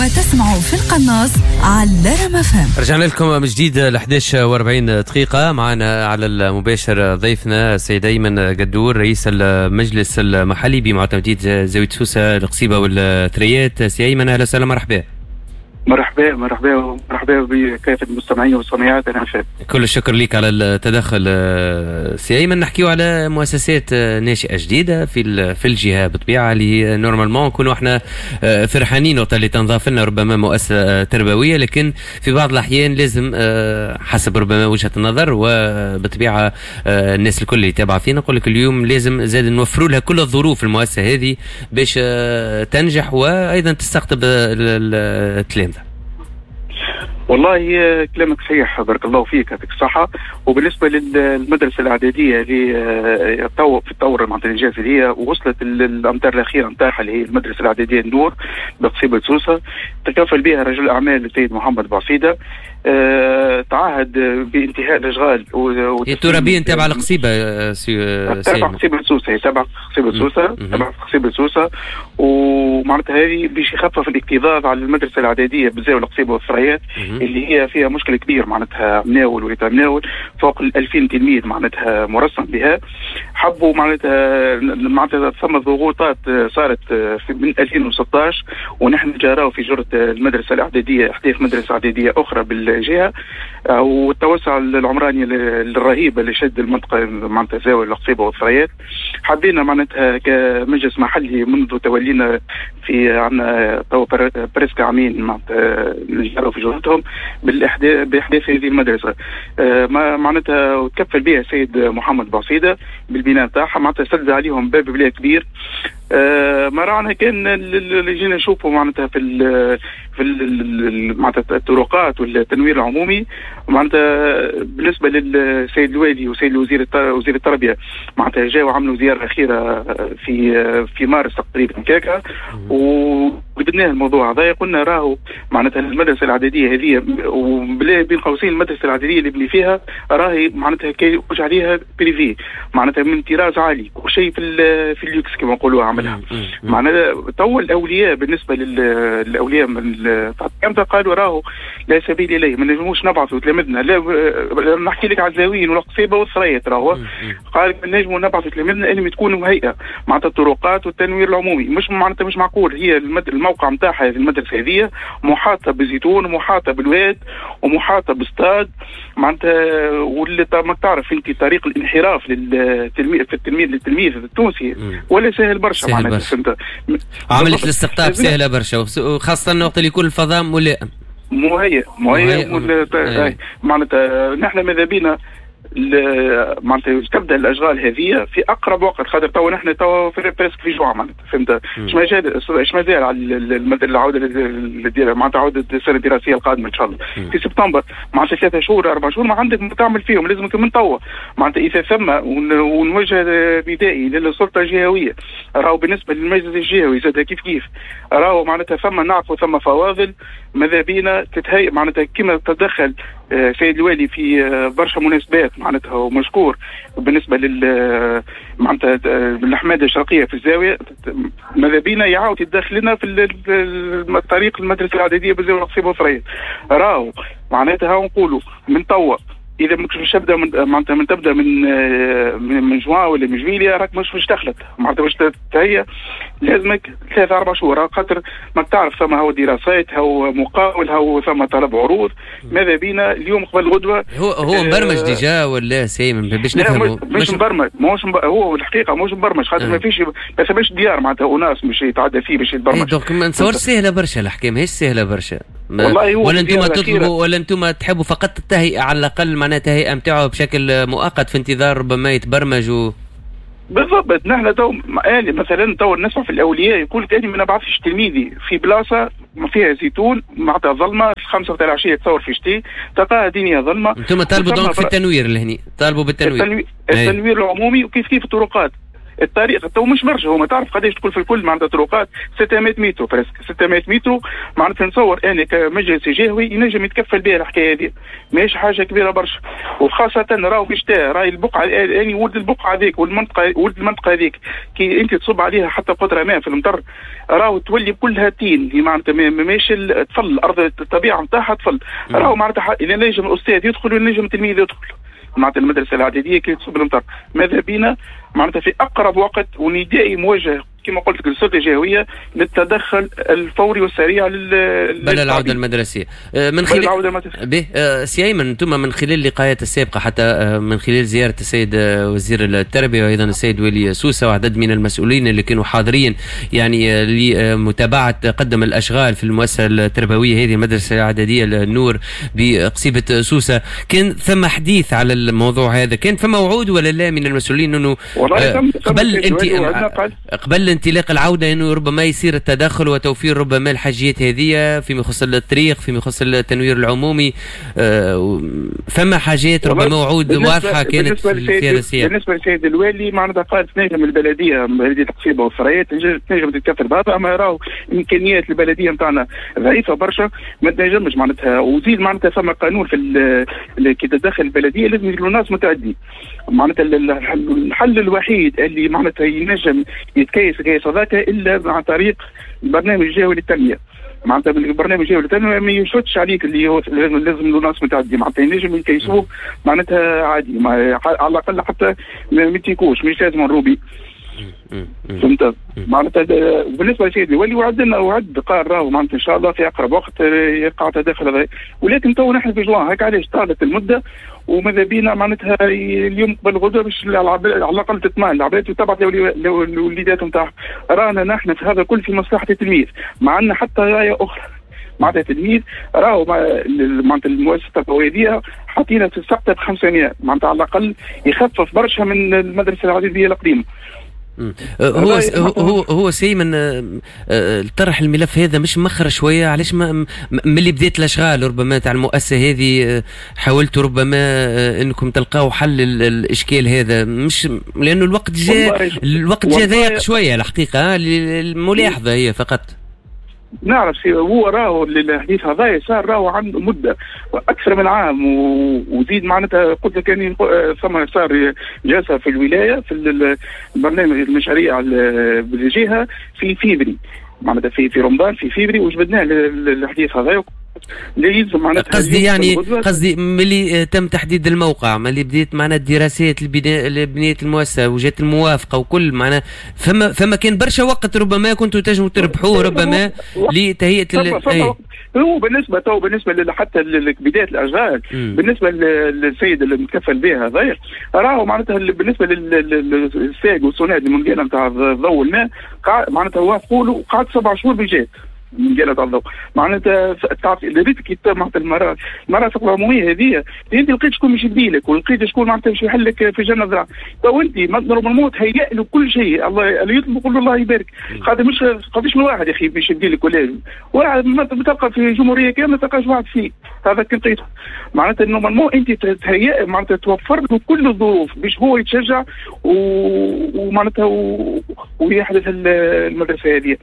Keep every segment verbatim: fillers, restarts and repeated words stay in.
انتم تسمعوا في القناص على رام أف أم. رجعنا لكم من جديد ل إحداش وأربعين دقيقة، معنا على المباشر ضيفنا السيد أيمن قدور رئيس المجلس المحلي بمعتمدية زاوية سوسة القصيبة والثريات. سي أيمن أهلا وسهلا، مرحبا. مرحبا مرحبا مرحبا بكافة المستمعين والسامعات. أنا فاد. كل الشكر لك على التدخل سي أيمن. نحكيو على مؤسسات ناشئة جديدة في في الجهة بالطبيعة اللي normalement نكونوا احنا فرحانين وقت اللي تنضاف لنا ربما مؤسسة تربوية، لكن في بعض الأحيان لازم حسب ربما وجهة النظر وبالطبيعة الناس الكل اللي تابعة فينا نقول لك اليوم لازم زاد نوفروا لها كل الظروف المؤسسة هذه باش تنجح وأيضا تستقطب التلامذة. والله كلامك صحيح، بارك الله فيك، يعطيك الصحة. وبالنسبة للمدرسة الإعدادية اللي في الطور معناتها الإنجاز اللي هي وصلت الأمتار الأخيرة نتاعها اللي هي المدرسة الإعدادية النور بقصيبة سوسة، تكفل بها رجل الأعمال السيد محمد بعصيدة. أه تعهد بانتهاء الأشغال. هي ترابيا تابعة القصيبة تابعة قصيبة سوسة، هي تابعة قصيبة سوسة، تابعة قصيبة سوسة. ومعناتها هذه باش يخفف الاكتظاظ على المدرسة الإعدادية بالزاوية القصيبة والثريات اللي هي فيها مشكلة كبير، معناتها مناول ولا مناول فوق ال ألفين تلميذ معناتها مرسم بها. حبوا معناتها معناتها ثم ضغوطات صارت في من ألفين وستطاش ونحن جراو في جرة المدرسة الإعدادية إحداث مدرسة إعدادية أخرى بالجهة، والتوسع العمراني الرهيب اللي شد المنطقة معناتها زاوية القصيبة والثريات. حبينا معناتها كمجلس محلي منذ تولينا في عندنا تو presque عامين معناتها نجروا في جهتهم بالاحداث باحداث هذه المدرسة. ما معناتها وتكفل بها السيد محمد بعصيده بالبناء تاعها، معناتها سد عليهم باب بلا كبير. ما رانا كان اللي جينا نشوفوا معناتها في ال في ال معناتها الطرقات والتنوير العمومي. معناتها بالنسبة للسيد الوالي وسيد الوزير وزير التربية معناتها جاوا عملوا زيارة اخيرة في في مارس تقريبا كاكا، وبدنا الموضوع هذا. قلنا راهو معناتها المدرسة الاعدادية هذه وبلا بين قوسين المدرسة الاعدادية اللي بني فيها راهي معناتها كي عليها privé معناتها من طراز عالي كل شيء في في اللوكس كما نقولوها عملها. معناتها تو الاولياء بالنسبة للاولياء من قالوا راهو لا سبيل اليه، ما نجموش نبعثوا تلامذنا، لا نحكي لك على الزاويين والقصيبه والثريات، راهو قال ما نجموا نبعثوا تلامذنا انهم تكونوا مهيئة معناتها الطرقات والتنوير العمومي. مش معناتها مش معقول هي الموقع نتاعها المدرسة هذه محاطة بزيتون ومحاطه بالواد ومحاطه باستاد معناتها، واللي ما تعرف انت طريق الانحراف للتلميذ في التلميذ للتلميذ التونسي ولا سهل برشا معناتها. فهمت عملية الاستقطاب سهلة برشا، وخاصة وقت اللي يكون الفضاء ملائم مهيئ مهيئ معناتها. نحن ماذا بينا معناتها تبدا الاشغال هذه في اقرب وقت، خاطر تو نحن تو في presque في جوع معناتها فهمت. اش ما اش مازال على العودة معناتها عوده السنة الدراسية القادمة ان شاء الله في سبتمبر، معناتها ثلاثة شهور اربع شهور ما عندك ما تعمل فيهم، لازمك من توا معناتها اذا ثم. ونوجه ندائي للسلطة الجهوية، راهو بالنسبة للمجلس الجهوي زاد كيف كيف راهو معناتها ثم نعرفوا ثم فواضل ماذا بينا تتهيئ معناتها كما تدخل سيد الوالي في برشا مناسبات معناتها ومشكور بالنسبة لل معناتها الحماده الشرقية في الزاوية، ماذا بينا يعاود يتدخل لنا في الطريق المدرسة الاعدادية بالزاوية القصيبه والثريات. راهو معناتها نقولوا من توا اذا مش تبدا من معناتها من تبدا من من جوان ولا من جويليا راك مش مش تخلط معناتها باش تهيأ لازمك ثلاثة أربع شهور، خاطر ما تعرف ثم هو دراسات هو مقاول هو ثم طلب عروض. ماذا بينا اليوم قبل غدوه هو هو مبرمج آه déjà ولا سي باش نفهموا؟ مش مبرمج، ماهوش هو الحقيقة ماهوش مبرمج خاطر آه. ما فيش ما ثماش ديار معناتها اناس مش يتعدى فيه باش يتبرمج. donc ما نتصورش سهلة برشا الحكاية، ماهيش سهلة برشا والله. هو ولا انتم تطلبوا ولا انتم تحبوا فقط التهيئه على الاقل معناها التهيئه نتاعو بشكل مؤقت في انتظار ربما يتبرمج و... بالضبط. نحن تو مثلا تو نسمع في الاولياء يقول لك انا ما نبعثش تلميذي في بلاصة ما فيها زيتون معناتها ظلمه خمسة تاع العشية تصور في شتي تلقاها دنيا ظلمه. انتم طالبوا donc في التنوير لهني، طالبوا بالتنوير التنوير, التنوير العمومي وكيف كيف الطرقات. الطريق تو مش برشا، هما تعرف قداش تكون في الكل معناتها طرقات ستمية متر presque ستمية متر، معناتها نتصور انا كمجلس جهوي ينجم يتكفل بها الحكاية هذه، ماهيش حاجة كبيرة برشا، وخاصة راهو في شتاء راهي البقعة يعني ولد البقعة هذيك والمنطقة ولد المنطقة هذيك كي انت تصب عليها حتى قطرة ماء في المطر راهو تولي كلها تين، معناتها ماهيش تفل الارض الطبيعة نتاعها تفل، راهو معناتها اذا نجم الاستاذ يدخل ونجم التلميذ يدخل معناتها المدرسة الاعدادية كي تصب المطر، ماذا بينا معناتها في اقرب وقت وندائي موجه كما قلت لك للسلطة الجهوية للتدخل الفوري والسريع لل بل العودة المدرسية من خلال العودة المدرسية. به سي ايمن، انتم من خلال اللقاءات السابقة حتى من خلال زيارة السيد وزير التربية وايضا السيد ولي سوسة وعدد من المسؤولين اللي كانوا حاضرين يعني لمتابعة تقدم الاشغال في المؤسسة التربوية هذه المدرسة الاعدادية النور بقصيبه سوسة، كان ثم حديث على الموضوع هذا، كان فما وعود ولا لا من المسؤولين انه قبل انت قبل انطلاق العودة انه ربما يصير التدخل وتوفير ربما الحاجيات هذه فيما يخص الطريق، فيما يخص التنوير العمومي، فما حاجات ربما وعود واضحة كانت في هذا السياق؟ بالنسبة للسيد الوالي معناتها قال تنجم البلدية بلدية القصيبة والثريات تنجم تتكفل بهذا، اما راهو امكانيات البلدية نتاعنا ضعيفة برشا ما تنجمش معناتها، وزيد معناتها فما قانون في كي تدخل البلدية لازم يديروا ناس متعدي، معناتها الحل الوحيد اللي معناتها ينجم يتكيس كيس هذاك الا عن طريق البرنامج الجهوي للتنمية، معناتها البرنامج الجهوي للتنمية ما يشوتش عليك اللي هو لازم لازم له ناس متعدي، معناتها ينجم يكيسوه معناتها عادي، على الاقل حتى ما تيكوش مش لازم نروبي، فهمت معناتها. بالنسبة للسيد الولي وعدنا وعد قال راهو معناتها ان شاء الله في اقرب وقت يقع تداخل هذا، ولكن تو نحن في جوان هيك علاش طالت المدة، وماذا بينا معناتها اليوم قبل غدوه باش على الاقل تطمئن العباد وتبعث الوليدات نتاعها. رانا نحن في هذا كل في مصلحة التلميذ، ما عندنا حتى رايه اخرى، معناتها التلميذ راهو معناتها المؤسسة التربوية حاطينها في السقطه ب خمسمية، معناتها على الاقل يخفف برشا من المدرسة العادية القديمة. هو هو هو سيمن طرح الملف هذا مش مخر شوية، علاش ما ملي بدات الاشغال ربما تاع المؤسسة هذه حاولتوا ربما انكم تلقاو حل الاشكال هذا، مش لانه الوقت جاء الوقت جاء ضيق شوية الحقيقة، الملاحظة هي فقط. نعرف هو راهو الحديث هذا صار راهو عنده مده اكثر من عام، وزيد معناتها قلت لك اني ثم صار جلسه في الولاية في البرنامج المشاريع بالجهة في فيفري، معناتها في في رمضان في فيفري، وجبدناه الحديث هذا. قصدي يعني قصدي ملي تم تحديد الموقع، ملي بديت معنا الدراسات البناء لبنيه المؤسسة وجات الموافقة وكل معنا، فما فما كان برشا وقت ربما كنتوا تنجموا تربحوه ربما لتهيئه ال... هو بالنسبة تو بالنسبة حتى لبداية الاشغال بالنسبة للسيد اللي متكفل بها هذايا راهو معناتها بالنسبة للساق والصناد المنقاله نتاع الضوء والماء معناتها وافقوا له وقعد سبع شهور بجات من جالة الضوء، معناتها تعرف ريت كي معناتها المرافق العمومية هذه انت لقيت شكون باش يديلك ولقيت شكون معناتها باش يحل لك في جنة ذراع، تو انت normalement تهيأ له كل شيء، الله اللي يطلب يقول له الله يبارك، خاطر مش قداش من واحد يا اخي باش يديلك ولا واحد ما تلقى في جمهورية كاملة ما تلقاش واحد فيه هذا كي لقيته، معناتها normalement انت تهيأ معناتها توفر له كل الظروف باش هو يتشجع ومعناتها ويحدث المدرسة هذه.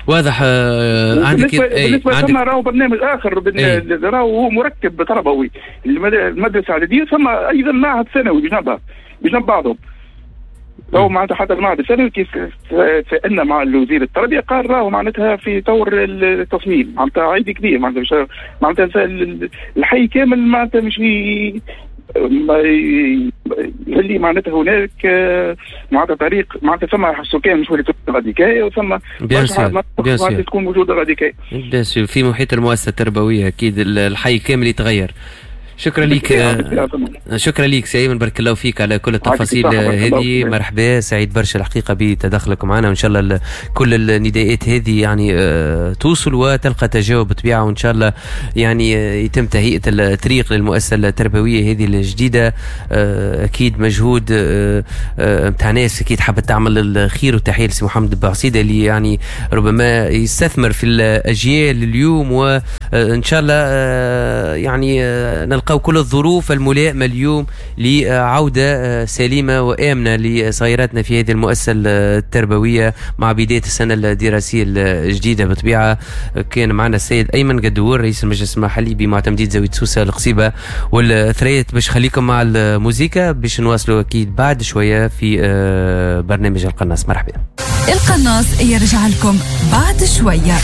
واضح. عندك بالنسبة ثم راهو برنامج اخر راهو هو مركب تربوي المدرسة الاعدادية، ثم ايضا معهد ثانوي بجنبها بجنب بعضهم. تو معناتها حتى المعهد الثانوي كيف سالنا مع الوزير التربية قال راهو معناتها في طور التصميم، معناتها عيب كبير، معناتها معناتها الحي كامل معناتها مش اللي معناتها هناك معناتها طريق معناتها ثم سكان مش ولي غاديكاي وثم bien sûr تكون موجودة غاديكاي bien sûr في محيط المؤسسة التربوية، اكيد الحي كامل يتغير. شكرا لك، شكرا لك سي ايمن، بارك الله فيك على كل التفاصيل هذه. مرحبا، سعيد برشا الحقيقة بتدخلك معنا، وان شاء الله كل النداءات هذه يعني توصل وتلقى تجاوب بطبيعة، وان شاء الله يعني يتم تهيئة الطريق للمؤسسه التربوية هذه الجديدة. اكيد مجهود نتاع ناس اكيد حابة تعمل الخير، وتحية لسي محمد بعصيده اللي يعني ربما يستثمر في الاجيال اليوم ان شاء الله يعني نلقاو كل الظروف الملائمة اليوم لعودة سليمة وامنه لصغيراتنا في هذه المؤسسة التربوية مع بداية السنة الدراسية الجديدة. بطبيعة كان معنا السيد ايمن قدور رئيس المجلس المحلي بمعتمديه زاوية سوسة القصيبه والثريات. باش خليكم مع الموسيقى باش نواصلوا اكيد بعد شوية في برنامج القناص. مرحبا. القناص يرجع لكم بعد شوية.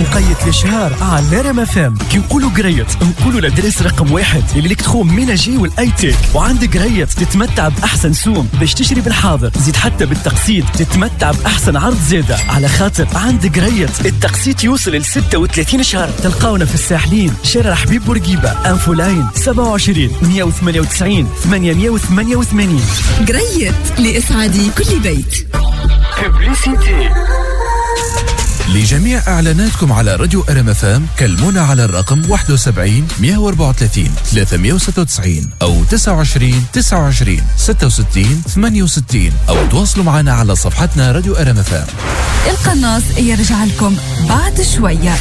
وقيت الاشهار على رام اف ام. كي نقولوا قريت نقولوا l'adresse رقم واحد l'électroménager وال high-tech، وعند قريت تتمتع باحسن سوم باش تشري بالحاضر، زيد حتى بالتقسيط تتمتع باحسن عرض زاده، على خاطر عند قريت التقسيط يوصل ل ستة وثلاثين شهر. تلقاونا في الساحلين، شارع حبيب بورقيبه، infoline سبعة وعشرين مية وثمانية وتسعين ثمانمية وثمانية وثمانين. قريت لإسعاد كل بيت. publicité. لجميع اعلاناتكم على راديو ار ام اف ام كلمونا على الرقم واحد وسبعين مية وأربعة وثلاثين ثلاثمية وستة وتسعين او تسعة وعشرين تسعة وعشرين ستة وستين ثمانية وستين او تواصلوا معنا على صفحتنا راديو ار ام اف ام. القناص يرجع لكم بعد شوية.